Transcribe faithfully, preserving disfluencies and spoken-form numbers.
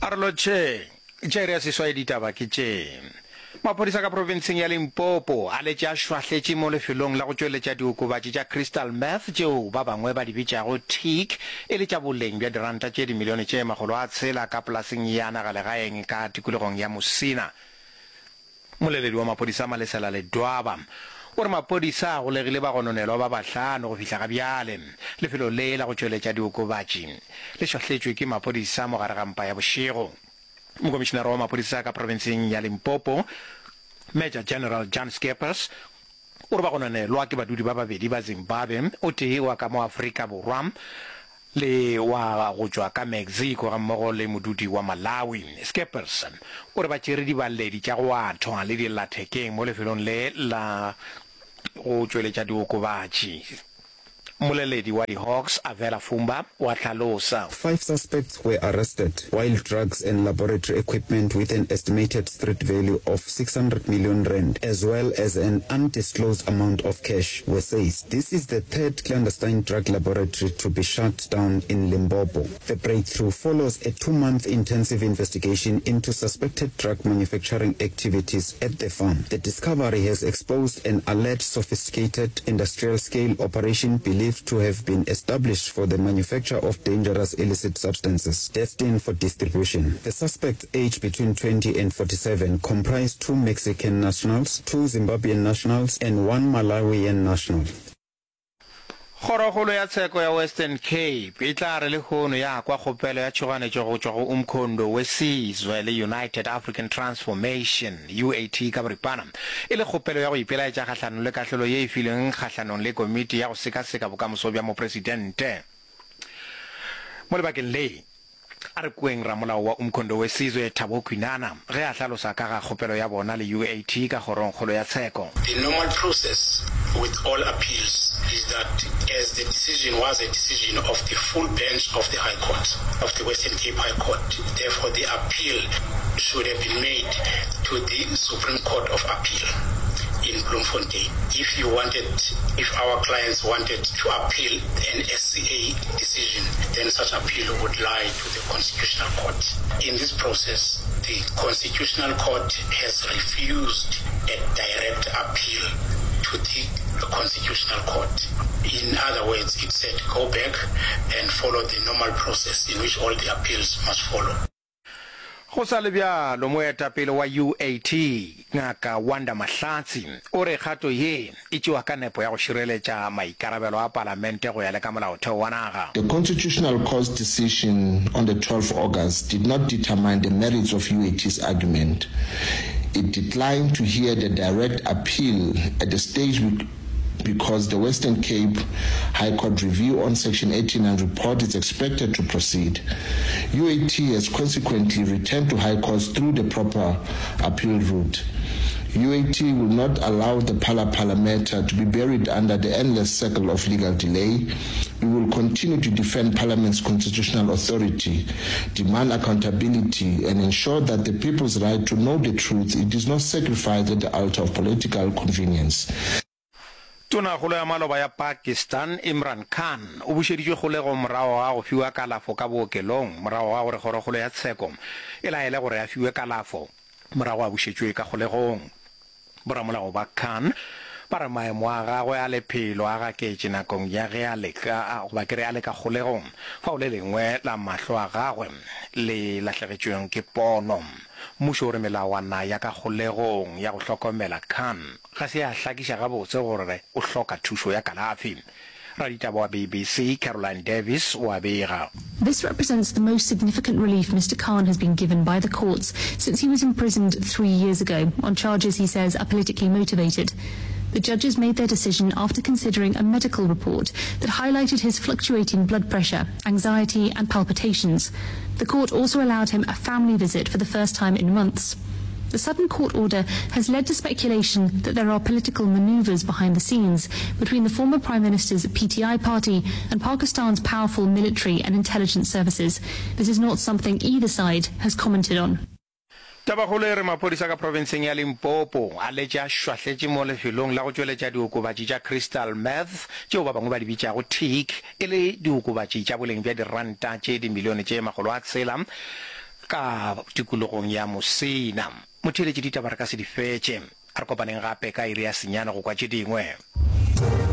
A re lotšheng. Tša iri ya seswai ditaba ke tše. Maphodisa ka profenseng ya Limpopo a letše a šwahletše mo lefelong la go tšweletša diokobatši tša crystal meth tšeo ba bangwe ba di bitšago tik e le tša boleng bja diranta tše dimilione tše makgolo a tshela ka polaseng ya nagalegaeng ka tikologong ya Musina. Mmoleledi wa maphodisa Malesela Ledwaba o re maphodisa a golegile bagononelwa ba bahlano go fihla ga bjale. Lefelo le la go tšweletša diokobatši le šwahletšwe ke maphodisa mo gare ga mpa ya bošego. Mokomišenare wa maphodisa ka profenseng ya Limpopo, Major General Jan Scheepers, o re bagononelwa ke badudi ba babedi ba Zimbabwe, o tee wa ka mo Afrika Borwa le wa go tšwa ka Mexico gammogo le modudi wa Malawi. Scheepers o re ba tšere dibaledi tša go athwa le dillathekeng mo lefelong le la go tšweletša diokobatši. Mmoleledi wa di-Hawks, Avela Fumba, o a hlalosa. Five suspects were arrested while drugs and laboratory equipment with an estimated street value of six hundred million rand as well as an undisclosed amount of cash were seized. This is the third clandestine drug laboratory to be shut down in Limpopo. The breakthrough follows a two-month intensive investigation into suspected drug manufacturing activities at the farm. The discovery has exposed an alleged sophisticated industrial-scale operation believed to have been established for the manufacture of dangerous illicit substances destined for distribution. The suspects, aged between twenty and forty-seven, comprise two Mexican nationals, two Zimbabwean nationals and one Malawian national. Kgorokgolo ya Tsheko ya Western Cape e tla re lehono ya kwa kgopelo ya tšhoganetšo go tšwa go Umkhonto we Sizwe le United African Transformation, U A T ka boripana, e le kgopelo ya go ipelaetša kgahlanong le kahlolo ye e filweng kgahlanong le komiti ya go sekaseka bokamoso bja mopresidente. Mo lebakeng le, a re kweng ramolao wa Umkhonto we Sizwe, Thabo Kwinana, ge a hlalosa ka ga kgopelo ya bona le U A T ka Kgorongkgolo ya Tsheko. The normal process with all appeals is that as the decision was a decision of the full bench of the High Court, of the Western Cape High Court, therefore the appeal should have been made to the Supreme Court of Appeal in Bloemfontein. If you wanted, if our clients wanted to appeal an S C A decision, then such appeal would lie to the Constitutional Court. In this process, the Constitutional Court has refused a direct appeal to the Constitutional Court. In other words, it said go back and follow the normal process in which all the appeals must follow. Go sa le bjalo, moetapele wa U A T, Ngaka Wanda Mahlatsi, o re kgato ye e tšewa ka nepo ya go šireletša maikarabelo a palamente go ya le ka molaotheo wa naga. The Constitutional Court's decision on the twelfth August did not determine the merits of U A T's argument. It declined to hear the direct appeal at the stage because the Western Cape High Court review on Section eighty-nine report is expected to proceed. U A T has consequently returned to High Courts through the proper appeal route. U A T will not allow the Phala Phala matter to be buried under the endless circle of legal delay. We will continue to defend Parliament's constitutional authority, demand accountability, and ensure that the people's right to know the truth it is not sacrificed at the altar of political convenience. Tonakgolo ya maloba ya Pakistan, Imran Khan, o bušeditšwe kgolegong morago ga go fiwa kalafo ka bookelong morago ga gore kgorokgolo ya tsheko e laele gore a fiwe kalafo morago a bušetšwe ka kgolegong. Boramolao ba Khan ba re maemo a gagwe a lephelo a gaketše nakong ya ge a le ka, goba ke re a le ka kgolegong, fao le lengwe la mahlo a gagwe le lahlegetšweng ke pono. Mmušo o re melawana ya ka kgolegong ya go hlokomela Khan ga se ya hlakiša gabotse gore o hloka thušo ya kalafi. Raditaba wa B B C Caroline Davis o a bega. This represents the most significant relief Mister Khan has been given by the courts since he was imprisoned three years ago on charges he says are politically motivated. The judges made their decision after considering a medical report that highlighted his fluctuating blood pressure, anxiety and palpitations. The court also allowed him a family visit for the first time in months. The sudden court order has led to speculation that there are political maneuvers behind the scenes between the former Prime Minister's P T I party and Pakistan's powerful military and intelligence services. This is not something either side has commented on. Tabakgolo e re maphodisa ka profenseng ya Limpopo a letše a šwahletše mo lefelong la go tšweletša diokobatši tša crystal meth tšeo ba bangwe ba di bitšago tik e le diokobatši tša boleng bja diranta tše dimilione tše makgolo a tshela ka tikologong ya Musina. Motheeletši ditaba re ka se di fetše. A re kopaneng gape ka iri ya senyane go kwa tše dingwe.